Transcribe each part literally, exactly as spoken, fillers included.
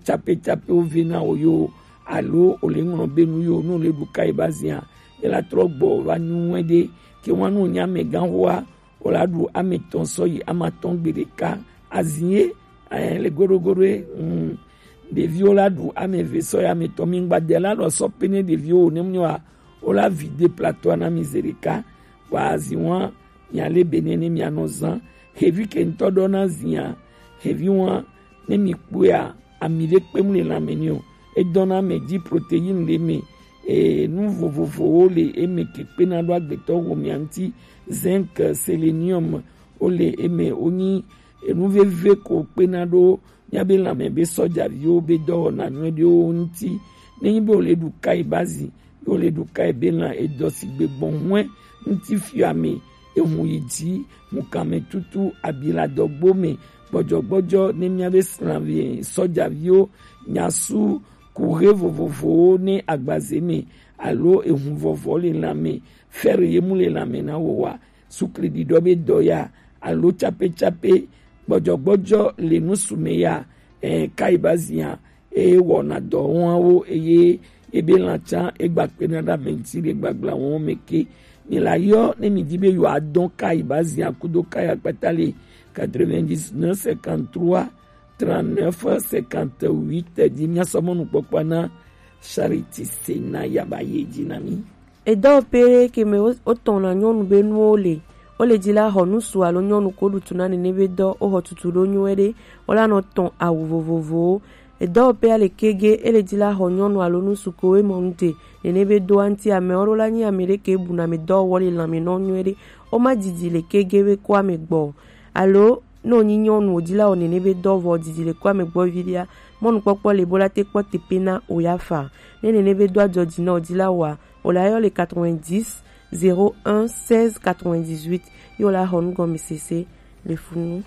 capécapé wo ve na wo yo, alo wo le ŋlɔ be nu yo, nu le ɖu kayi ba zia, e la trɔ gbɔ va nyu wɛ ɖe, ke wa nu nya mɛ gan hoa, wo la ɖu ame tɔn sɔ yi ame atɔn gbe ɖeka. Azi ye, eh, le goɖogoɖo ye, mm, ɖeviwo la ɖu ame eve sɔ yi ame tɔn. Mi ŋgba de la lɔ sɔ pe ne ɖeviwo ne mlɔ wa, wo la vi de plateau na mi ze ɖeka. Wa azi wa, mia le be ne ne mia nɔ zan. Xevi ke ŋutɔ ɖɔ na zia, xevi wa, ne mi kpɔa, ami ɖe kpem le lãme ni o. Edɔna ame dzi, protéine le eme, e, nu vovovowo le eme ke kpena ɖo agbetɔ xomea ŋuti, zinc, sélénium, wo le eme, wonyi enu veve ko kpena ɖo míabe lãme be sɔjaviwo be dɔwɔna nyuiɖewo ŋuti. Nenyi be wo le ɖu kayi bazi, ye wo le ɖu kayi be lã edɔ sigbe gbɔn hwɛ ŋuti fiɔ ame, ehun yi dzi, hunkame tutu, abi le adɔgbo me, gbɔdzɔgbɔdzɔ ne míabe srãvi sɔjaviwo nyasu kuxe vovovowo ne agbaze me, alo ehun vɔvɔ le lãme, fer ye mu le lãme na wo wa, sukli ɖiɖɔ be dɔ ya, alo capécapé, gbɔdzɔgbɔdzɔ le nusu me ya, eh, kayi bazi ya, eye wɔna dɔ wɔn wo, eye ebe lã tsã egba kpena ɖe ame ŋuti le gbagbla wɔn me ke. Mi la yɔ ne mi di be yewoa dɔn kayi bazi ya kudo kayi akpata le quatre-vingt-dix-neuf cinquante-trois trente-neuf cinquante-huit di. Mia sɔ mɔnukpɔkpɔ na Charity Sena ya ba ye dzi na mi. Edɔwɔƒe ɖe ke me wo-, wotɔna nyɔnu be nuwo le. Wo le dzi la xɔ ŋutsu alo nyɔnu ko ɖu tu na nene be dɔ, wo xɔ tutu ɖo nyuie ɖe, wo la nɔ tɔn awu vovovowo. Edɔwɔƒea le kege, e le dzi la xɔ nyɔnu alo ŋutsu ko we mɔ nu te, nene be doa ŋuti amewo ɖo la nyi ame ɖe ke bu na ame dɔwɔwɔ le lãme nɔ nyuie ɖe. Wo ma didi le kege be ko ame gbɔ. Alo, ne wonyi nyɔnu wòdi la wɔ nene be dɔ vɔ didi le ko ame gbɔ vi ɖea, mɔnukpɔkpɔ le bo la te kpɔ teƒe na o ya fa. Ne nene be do adzɔ dzi na wòdi la wɔa, o la yɔ le quatre-vingt-dix, zéro un, seize, quatre-vingt-dix-huit, ye o la xɔ nugɔmesese le funu.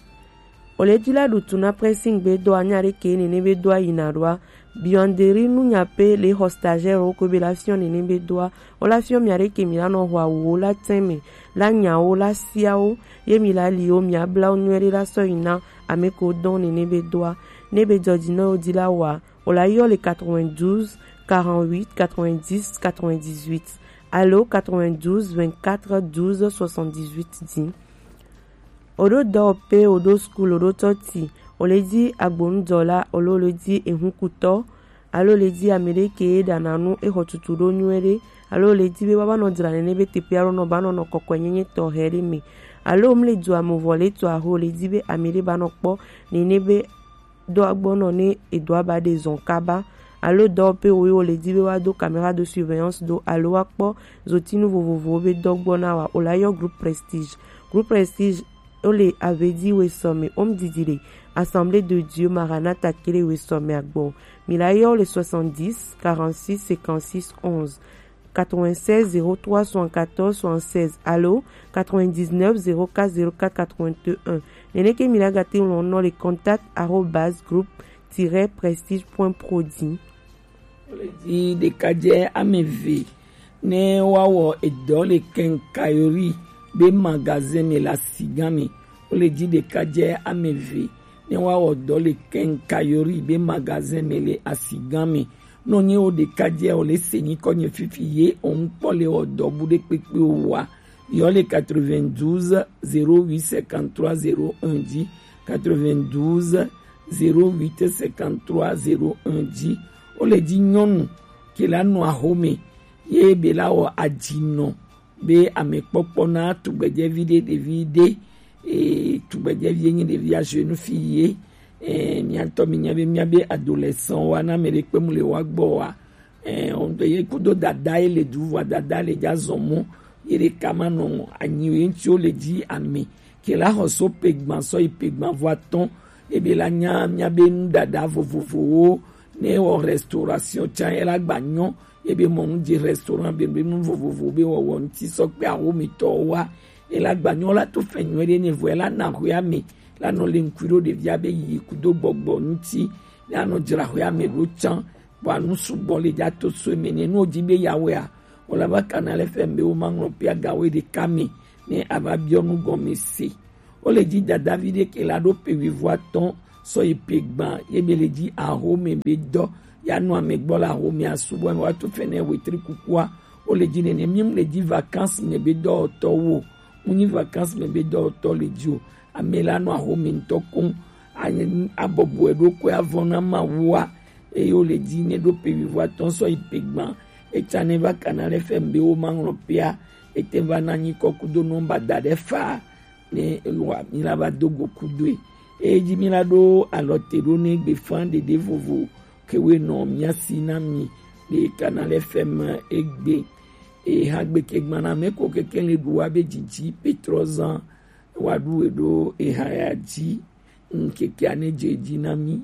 O le dzi la ɖu tu na pressing be dɔa nya ɖe ke nene be dɔa yina ɖoa, buanderie nunya pe le xɔ stagiaire wo ko be la fiɔ nene be dɔa, o la fiɔ mia ɖe ke mi la nɔ xɔ awuwo la tɛn me, la nyawo, la siawo, ye mi la li wo, mia bla wo nyuie ɖe la sɔ yi na ame ko dɔn nene be dɔa. Ne be dzɔ dzi na wo di la wɔa, o la yɔ le quatre-vingt-douze, quarante-huit, quatre-vingt-dix, quatre-vingt-dix-huit, alo quatre-vingt-douze, vingt-quatre, douze, soixante-dix-huit di. O ɖo dɔwɔƒe, o ɖo school, o ɖo tɔti, o le dzi agbonudɔla, o le, o le dzi ehunkutɔ, alo o le dzi ame ɖe ke ɖana nu, e xɔ tutu ɖo nyuie ɖe, alo o le dzi be woava nɔ dzra nene be teƒe alo nɔ ba nɔ nɔ kɔkɔenyenye tɔxɛ ɖe me, alo o mle dua me vɔ le to aho, o le dzi be ame ɖe ba nɔ kpɔ nene be dɔa gbɔ nɔ ne edɔa ba ɖe zɔn kaba, alo dɔwɔƒe wo ye wo le di be woado caméra de surveillance do alo woakpɔ zotinu vovovowo be dɔ gbɔ na wa, o la yɔ groupe Prestige. Groupe Prestige wo le Avedi Wesɔme, wo mu didi le Assemblée de Dieu Maranatha ke le Wesɔme agbɔ. Mi la yɔ wo le soixante-dix, quarante-six, cinquante-six, onze. Quatre-vingt-seize, zéro trois, soixante-quatorze, soixante-seize, alo quatre-vingt-dix-neuf, zéro quatre, zéro quatre, quatre-vingt-un. Nene ke mi la ga te ŋlɔ nɔ le contact arobase groupe tiret prestige point pro di. Wo le di ɖekadze ame eve ne woawɔ edɔ le quincaillerie be magasin me le asigã me. Wo le di ɖekadze ame eve ne woawɔ dɔ le quincaillerie be magasin me le asigã me. Nɔ nye wo ɖekadze o le se nyikɔ nye fifi ye o ŋkpɔ le wɔ dɔ bu ɖe kpekpe o wa. Yɔ le quatre-vingt-douze, zéro huit, cinquante-trois, zéro un di, quatre-vingt-douze, zéro huit, cinquante-trois, zéro un di. Wo le di nyɔnu ke la nɔ axome ye be la wɔ adzinɔ be amekpɔkpɔ na tugbedzevi ɖe, ɖevi ɖe, e, tugbedzevi ye nyi ɖevi ajeune fille ye, e, mia ŋutɔ mi nya be, mia be adolescent wa, na ame ɖe kpe mu le wa gbɔ wa, e, o ŋutɔ ye kudo dada ye le du vɔa, dada le dza zɔn mɔ, ye ɖeka ma nɔ anyi o, ye ŋuti wo le di ame ke la xɔ so pegban sɔ yi pegban vɔ atɔ̃, ebe la nya mia be nuɖaɖa vovovowo, ne wɔ restauration tsã, ela gba nyɔ, ebe mɔ nu dzi restaurant be, be nu vovovo be wɔwɔ ŋuti sɔ kpe awomitɔwo wa, ela gba nyɔ la to fɛ nyuie ɖe ne vɔ ela na xɔa me, la nɔ le ŋkui ɖo ɖevia be yi kudo gbɔgbɔ ŋuti, ne anɔ dzra xɔa me ɖo tsã, bɔ anu sugbɔ le dza to so eme ne, ne wodi be yawɔea, wòle va kana le fɛ be woma ŋlɔ pe agawo ɖeka me, ne ava biɔ nu gɔme se. Wo le dzi dadavi ɖe ke la ɖo pe wuivo atɔ̃, sɔ yi pe gban ye be le dzi ahome be dɔ ya nɔ ame gbɔ le ahome asubɔ me wa to fɛnɛ wetri kukua. Wo le dzi nene mi mu le dzi vacances me be dɔ tɔ wo. Mu nyi vacances me be dɔ tɔ le dzi o. Ame la nɔ ahome ŋutɔ koŋ. Abɔbɔe ɖo koe avɔ na ma wua. Eye wo le dzi ne ɖo pe wivo atɔ̃ sɔ yi pe gban. Etsa ne va kana le fɛ be wo ma ŋlɔ pea. Ete va na nyi kɔ kudo nɔ ba da ɖe fa. Ne wa mi la va do go kudoe. Eye dzi mi la ɖo alɔ te ɖo ne gbe fan ɖeɖe vovo ke we nɔ mia si na mi ɖe kana le fɛ me egbe. Eye ha gbe ke gbana me ko keke le ɖu wa be dzidzi petrɔ zan wa ɖu we ɖo eha ya dzi. Ŋkekea ne dze dzi na mi.